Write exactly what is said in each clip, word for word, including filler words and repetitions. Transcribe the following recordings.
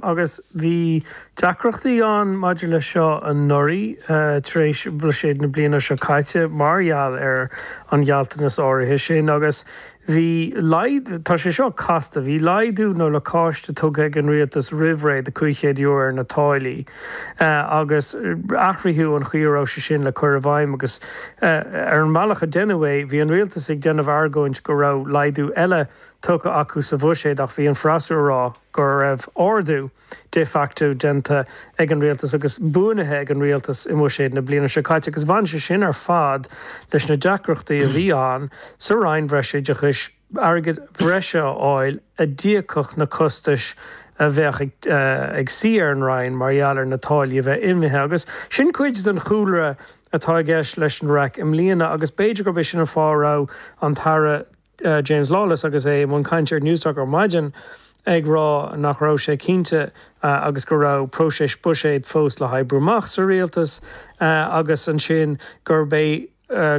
Agus bhí deacrachtaí ann maidir leis seo anuraidh tar éis buiséad na bliana seo caite mar gheall ar an ghealltanas áirithe sin agus bhí laghdú, tá sé seo casta, bhí laghdú nó lacáiste tugtha ag an rialtas roimh ré de cúig chéad euro ar na táillí agus athraíodh an chaoi a raibh sé sin le cur i bhfeidhm agus ar an mbealach a deineadh é, bhí an rialtas ag déanamh argóint go raibh laghdú eile tugtha acu sa bhuiséad ach bhí an freasúra ag rá go raibh ardú de facto déanta ag an rialtas agus buanaithe ag an rialtas i mbuiséad na bliana seo caite agus bhain sé sin ar fad leis na deacrachtaí a bhí ann sa Roinn Bhreisoideachais airgead breise a fháil a d'íocfadh na costais a bheadh ag suí ar an Roinn mar gheall ar na táillí a bheith imithe agus sin cuid den chúlra atá i gceist leis an raic i mbliana agus b'fhéidir gurb é sin an fáth a raibh an tAire James Lawless agus é i mbun cainte ar Newstalk ar maidin ag rá nach raibh sé cinnte agus go raibh próiseas buiséid fós le hoibriú amach sa rialtas agus ansin gurb é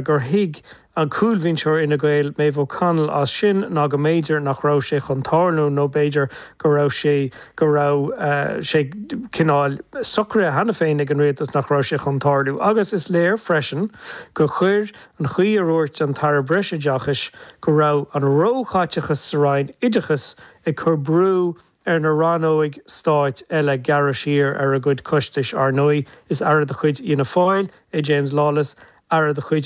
gur thuig an cúlbhinseoir Fhine Gael, Maeve O'Connell as sin ná go mb'fhéidir nach raibh sé chun tarlú nó b'fhéidir go raibh sé go raibh sé cineál socraithe cheana féin ag an rialtas nach raibh sé chun tarlú. Agus is léir freisin gur chuir an chaoi a ndúirt an tAire Breisoideachais go raibh an róchaiteachas sa Roinn Oideachais ag cur brú ar na rannóig stáit eile gearradh siar ar a gcuid costais. Ar ndóigh, is aire de chuid Fhianna Fáil é James Lawless, aire de chuid